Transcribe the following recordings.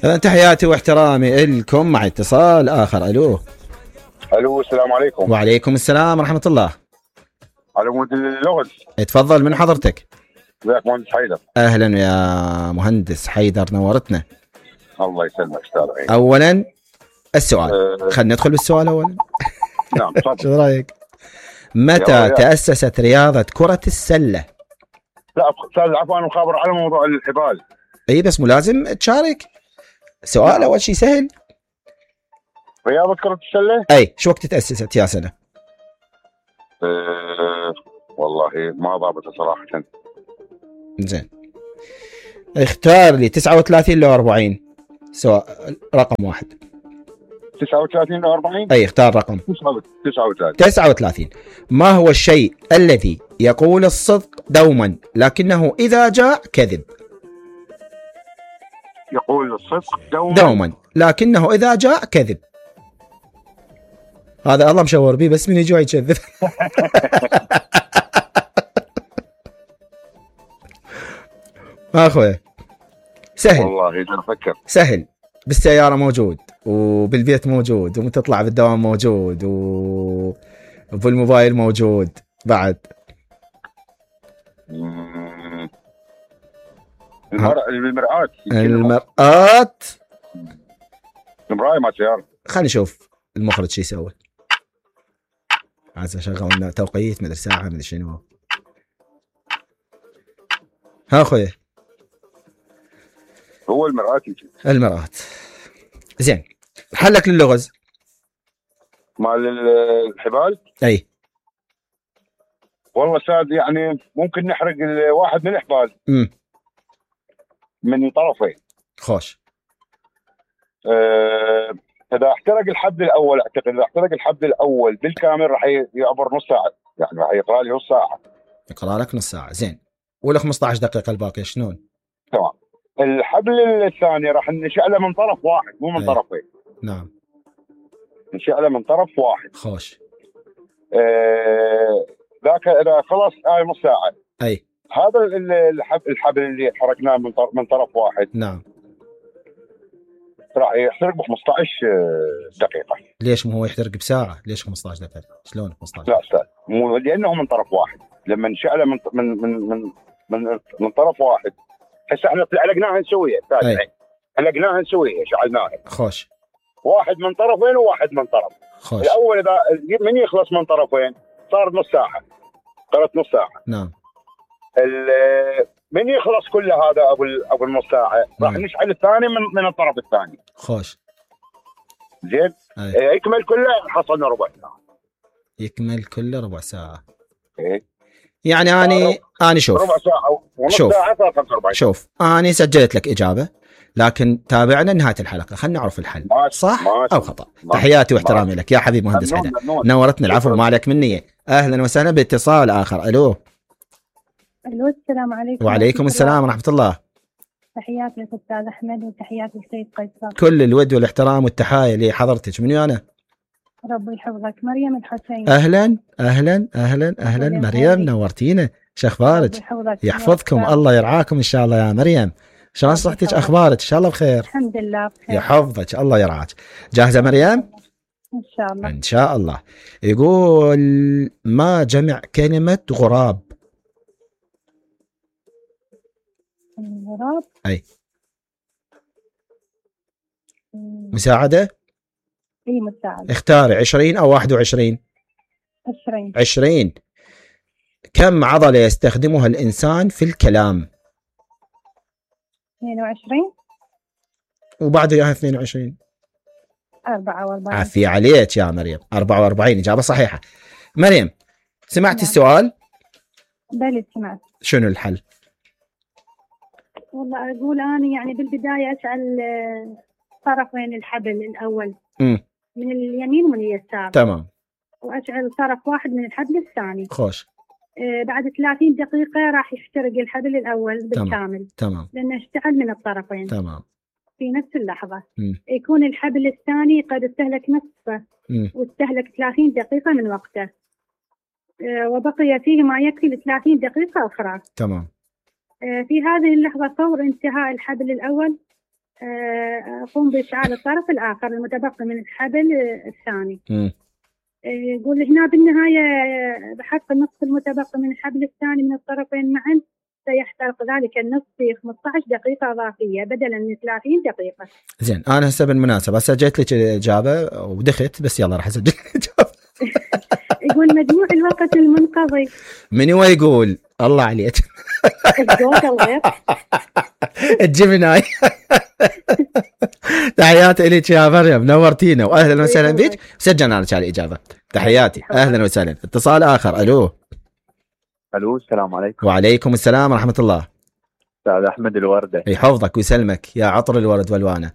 تحياتي واحترامي لكم. مع اتصال آخر. ألو. الو، السلام عليكم. وعليكم السلام ورحمة الله. على مود اللغز. اتفضل، من حضرتك؟ ازيك مهندس حيدر؟ أهلا يا مهندس حيدر، نورتنا. الله يسلمك استاذ. أولا السؤال، خلينا ندخل بالسؤال أولا. نعم تفضل. شو رأيك؟ متى تأسست رياضة كرة السلة؟ لا استاذ عفوا، انا مخابر على موضوع الحبال. اي بس مو لازم تشارك. سؤال نعم. أول شيء سهل. رياضة كرة السلة؟ اي شو وقت تأسست يا سنة؟ والله ما ضابطه صراحة. زين، اختار لي 39 لو 40. سواء رقم واحد. 39 ل 40؟ اي اختار رقم. 39. ما هو الشيء الذي يقول الصدق دوما لكنه إذا جاء كذب؟ يقول الصدق دوما لكنه إذا جاء كذب. هذا الله مشور بيه، بس من يجوا يكذب. اخوي سهل والله اذا افكر سهل. بالسيارة موجود، وبالبيت موجود، وتطلع بالدوام موجود، وبالموبايل موجود بعد. المرآة. المراية ما سيارة. خلينا نشوف المخرج شو يسوي. عايز اشغل لنا توقيت، مدري ساعة، مدري شنو. ها اخوي، هو المرآة. زين، حلك للغز مال الحبال. اي والله استاذ، يعني ممكن نحرق واحد من الحبال من طرفين. خوش. اذا احترق الحبل الاول، اعتقد اذا احترق الحبل الاول بالكامل راح يعبر نص ساعه، يعني راح يقرا لي نص ساعه. يقرا لك نص ساعه. زين، ولا 15 دقيقه الباقي شلون؟ تمام. الحبل الثاني راح نشعله من طرف واحد، مو من طرفين. نعم، نشعله من طرف واحد. خوش. ذاك اذا خلص نص ساعه. اي هذا الحبل اللي حركناه من طرف واحد. نعم، راح يحترق ب 15 دقيقه. ليش مو هو يحترق بساعه؟ ليش 15 دقيقه؟ شلون 15؟ لا استاذ، مو لانه من طرف واحد. لما نشعله من طرف واحد، هسه احنا علقناها نسويها استاذ. علقناها نسويها، شعلناها. خوش. واحد من طرفين وواحد من طرف. خوش. الاول اذا من يخلص من طرفين صار نص ساعه، قرت نص ساعه. نعم. من يخلص كل هذا ابو النص ساعه راح نشعل الثاني من الطرف الثاني. خوش. زين. يكمل كله حصلنا ربع ساعه. يكمل كله ربع ساعه. ايه يعني اني شوف ربع ساعه ونص ساعه صار 45. شوف، اني سجلت لك اجابه، لكن تابعنا نهايه الحلقه، خلينا نعرف الحل صح او خطا. تحياتي واحترامي لك يا حبيب مهندس حيدر، نورتني. العفو، ما عليك مني. اهلا وسهلا. باتصال اخر. الو. السلام عليكم. وعليكم السلام ورحمه الله. تحياتي لك استاذ احمد، وتحياتي للسيد قيصر. كل الود والاحترام والتحايا لحضرتك. منو انا؟ ربي يحفظك. مريم الحسين. اهلا اهلا اهلا اهلا مريم، نورتينا. شو اخبارك؟ يحفظكم، الله يرعاكم ان شاء الله يا مريم. شلون صحتك؟ اخبارك؟ ان شاء الله بخير. الحمد لله بخير. يحفظك، الله يرعاك. جاهزه مريم؟ ان شاء الله. ان شاء الله. يقول ما جمع كلمه غراب؟ غراب. اي مساعده. اي مساعده. اختاري 20 او 21. 20. كم عضله يستخدمها الانسان في الكلام؟ 22. وبعد اياها 22. 44. عافية عليك يا مريم. 44 اجابه صحيحه. مريم، سمعتي السؤال؟ بلى سمعت. شنو الحل؟ والله اقول انا يعني بالبدايه اشعل طرفين الحبل الاول من اليمين ومن اليسار. تمام. واشعل طرف واحد من الحبل الثاني. خوش. بعد 30 دقيقه راح يحترق الحبل الاول بالكامل. تمام. لانه اشتعل من الطرفين. تمام. في نفس اللحظه. يكون الحبل الثاني قد استهلك نصفه، واستهلك 30 دقيقه من وقته، وبقي فيه ما يكفي ل 30 دقيقه اخرى. تمام. في هذه اللحظة فور انتهاء الحبل الأول أقوم بإشعال الطرف الآخر المتبقي من الحبل الثاني. يقول هنا بالنهاية بحق النصف المتبقي من الحبل الثاني من الطرفين معا سيحترق ذلك النصف في 15 دقيقة إضافية بدلا من 30 دقيقة. زين أنا هسه بالمناسبة سجلت لك الإجابة ودخت، بس يلا راح أسجل الإجابة. يقول مجموع الوقت المنقضي. من هو يقول؟ الله عليك. الجيميناي. تحياتي لك يا مريم، نورتينا واهلا وسهلا بك. سجلنا لك على الاجابه. تحياتي، اهلا وسهلا. اتصال اخر. الو السلام عليكم. وعليكم السلام ورحمه الله. استاذ احمد الورده. يحفظك ويسلمك يا عطر الورد والوانه.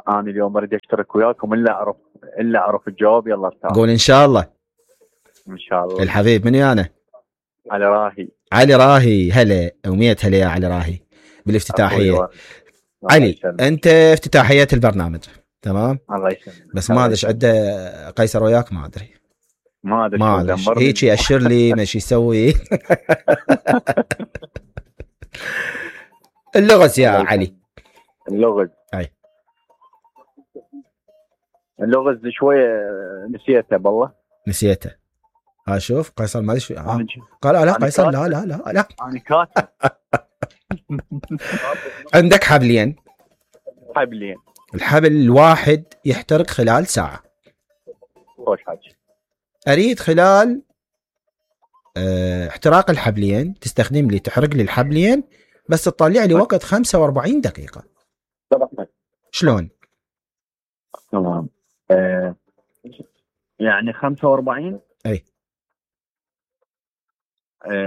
انا اليوم اريد اشترك وياكم الا اعرف الجواب. يلا استاذ. قول ان شاء الله. ان شاء الله. الحبيب من ويانا؟ علي راهي. علي راهي. هلا ومية هلا يا علي راهي بالافتتاحيه. علي انت افتتاحيه البرنامج تمام؟ الله يسلمك. بس ما ادري ايش عنده قيصر وياك، ما ادري هيك يأشر لي مش يسوي. اللغز يا علي. اللغز اي اللغز شويه نسيته بالله. نسيته. شوف قيصر ما ادري قال لا قيصر لا انا كاتب. عندك حبلين. الحبل الواحد يحترق خلال ساعة. خوش حاجة. أريد خلال احتراق الحبلين تستخدم لي تحرق لي الحبلين بس تطلع لي وقت 45 دقيقة. شلون؟ تمام. يعني 45. أي.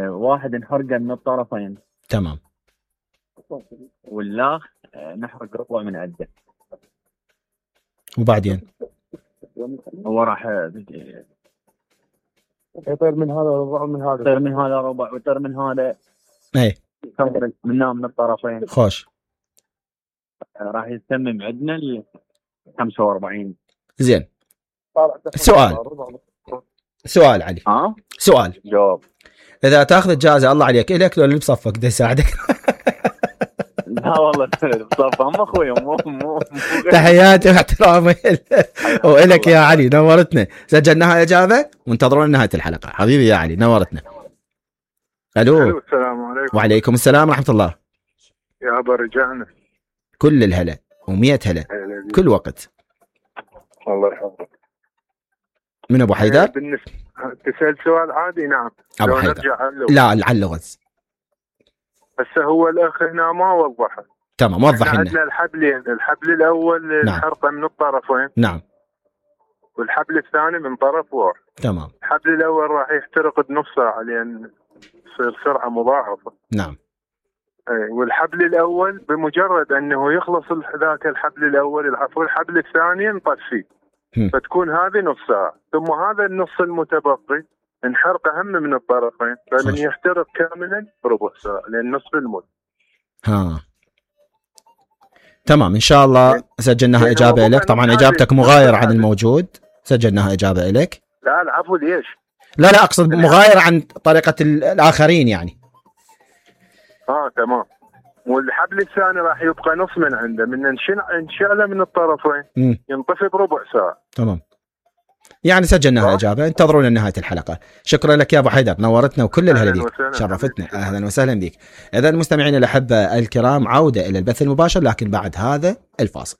واحد نحرقه من الطرفين. تمام. واللاخ نحرق ربع من عده. وبعدين هو راح يطير من هذا ربع من هذا، يطير من هذا ربع ويطير من هذا. اي من الطرفين. خوش. راح يتمم عندنا ال 45. زين. سؤال علي. سؤال. جواب. اذا تاخذ الجائزه الله عليك الك لو اللي بصفك ده يساعدك. لا والله بصفه هم اخوي مو تحياتي واحترامي والك يا علي، نورتنا. سجلناها اجابه وانتظرونا نهايه الحلقه. حبيبي يا علي نورتنا. الو السلام عليكم. وعليكم السلام ورحمه الله. يا ابا رجعنا كل الهلا و100 هلا كل وقت. الله يحفظك. من ابو حيدر؟ بالنسبه تسال سؤال عادي. نعم ابو حيدر. لا على اللغز. هسه هو الاخ هنا ما وضحه. تمام وضح لنا. عندنا الحبلين، الحبل الاول الحرقه من الطرفين. نعم. والحبل الثاني من طرف واحد. تمام. الحبل الاول راح يحترق بنص ساعه لان تصير سرعه مضاعفه. نعم. والحبل الاول بمجرد انه يخلص ذاك الحبل الاول الحبل الثاني نطفيه فتكون هذه نص ساعه، ثم هذا النص المتبقي نحرق اهم من الطرفين فمن يحترق كاملا ربع ساعه لان نصف المد. تمام ان شاء الله سجلناها اجابه لك. طبعا اجابتك مغايره عن الموجود، سجلناها اجابه لك. لا العفو. ليش؟ لا اقصد مغايره عن طريقه الاخرين يعني. تمام. والحبل الثاني راح يبقى نص من عنده من انشعله من الطرفين ينطفي بربع ساعه. تمام. يعني سجلناها اجابه، انتظرونا لنهايه الحلقه. شكرا لك يا ابو حيدر، نورتنا وكل الهلا بيك، شرفتنا. اهلا وسهلا بك. اذا مستمعينا الاحبه الكرام عوده الى البث المباشر لكن بعد هذا الفاصل.